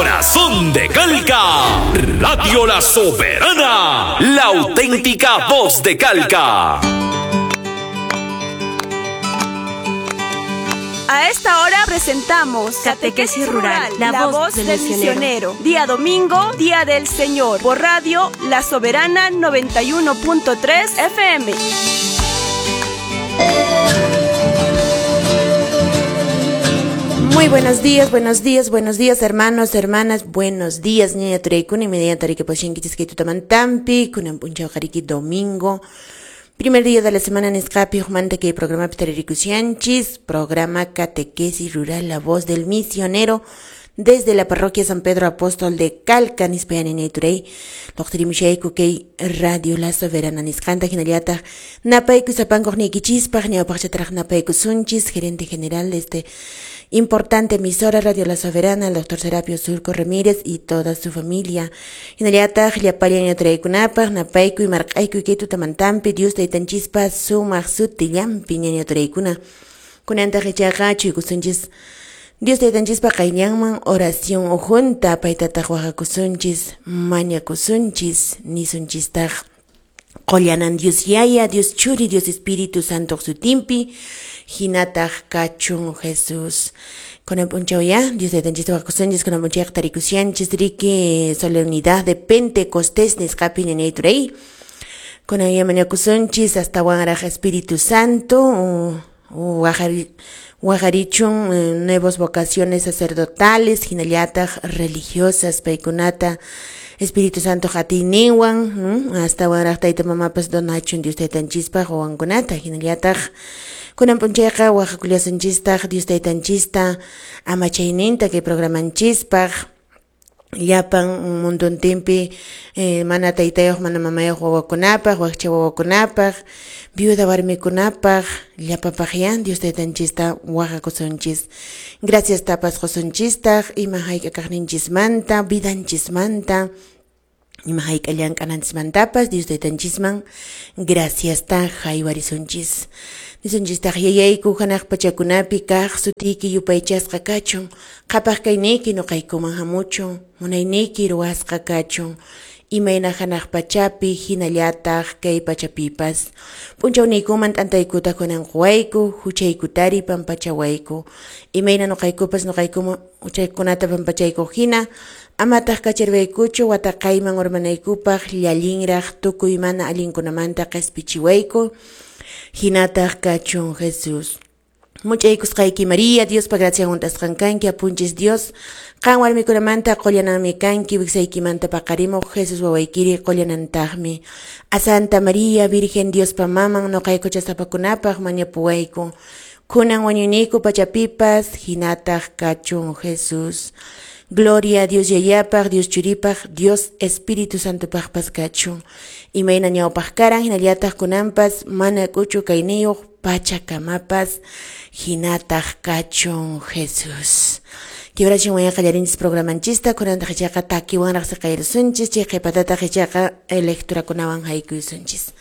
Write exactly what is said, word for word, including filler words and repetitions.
corazón de Calca. Radio La Soberana, la auténtica voz de Calca. A esta hora presentamos Catequesis Rural, la, la voz, voz del, del misionero. misionero. Día domingo, Día del Señor, por Radio La Soberana noventa y uno punto tres F M. Muy buenos días, buenos días, buenos días, hermanos, hermanas, buenos días, ñaña tureykuna, inmediata tariki poshinkichis kay tutamantampi, kunan p'unchaw qariki domingo. Primer día de la semana nisqapi hukmanta kay programapi taririkusianchis, programa Catequesis Rural, la voz del misionero, desde la parroquia San Pedro Apóstol de Calca, nispayani ñayturey, loqtirimushayku kay Radio La Soberana nisqanta, hinallataq napayku sapankuq niykichispaq, ñawpaqchataraq napaykusunchis, gerente general de este importante emisora Radio La Soberana, el doctor Serapio Surco Ramírez y toda su familia. Hinallataq llapallan ñaturaykunapaq, napayku y marq'ayku kay tutamantampi, Dios taytanchispa sumaq sutillanpi ñañaturaykuna. Kunantaq ichaqa chuykusunchis Dios taytanchispa qayllanman oración ujunta, paytataq waqakusunchis, mañakusunchis, nisunchistaq qollanan Dios Yaya, Dios Churi, Dios Espíritu Santo sutimpi, hinataq kachun Jesús. Kunan p'unchaw ya, Dios taytanchista waqakusunchis, kunan p'unchayqa tarikusianchis riki solemnidad de Pentecostés nisqapi ñañayturay. Kunan ya mañakusunchis hasta wanraq Espíritu Santo, waqari waqarichun eh, nuevas vocaciones sacerdotales, hinallataq religiosas, paykunata Espíritu Santo hatiyninwan, hasta wanraq tayta mamapas donachun Dios taytanchispaq wawankunata, hinallataq kunan p'unchayqa waqakullasunchistaq Dios taytanchista amachayninta kay programanchispaq, llapan munduntinpi eh, mana taytayuq mana mamayuq wawakunapaq, wakcha wawakunapaq, viuda warmikunapaq, llapapaq ya Dios taytanchista waqakusunchis. Gracias tapas qusunchistaq ima hayk'a kaqninchismanta, vidanchismanta, ima hayk'a llank'ananchismantapas Dios taytanchisman graciasta haywarisunchis. Nisunchistaq yayayku hanaq pachakunapi kaq sutiyki yupaychasqa kachun, qhapaq kayniyki nuqaykuman hamuchun, munayniyki ruwasqa kachun, imayna hanaq pachapi hinallataq kay pachapipas. P'unchawniykuman t'antaykuta kunan quwayku, huchaykutari pampachawayku, imayna nuqaykupas nuqaykuman huchaykunata pampachayku hina, amataq kacharwaykuchu wataqayman urmanaykupaq llallinraq tukuy mana allinkunamanta qispichiwayku, hinataq kachun Jesús. Muchaykusqayki María, Diospa gracia hunt'asqan kanki, apunchis Dios, qan warmikunamanta qullananmi kanki, wiksaykimanta paqarimuq Jesús wawaykiri qullanantaqmi. A Santa María, Virgen Diospa maman, nuqayku chasapakunapaq mañapuwayku, kunan wañuyniyku pachapipas, hinataq kachun Jesús. Gloria a Dios Yayapaq, Dios Churipaq, Dios Espíritu Santopaqpas kachun. Imayna ñawpaq karan, hinallataq kunanpas, mana k'uchu kayniyuq pachakamapas, hinataq kachun Jesús. Kibrachiwan wayan qallarinchis programanchista, kunantaq ichaqa takiwanraq siqayrusunchis, chay qhipatataq ichaqa lecturakunawan haykuysunchis.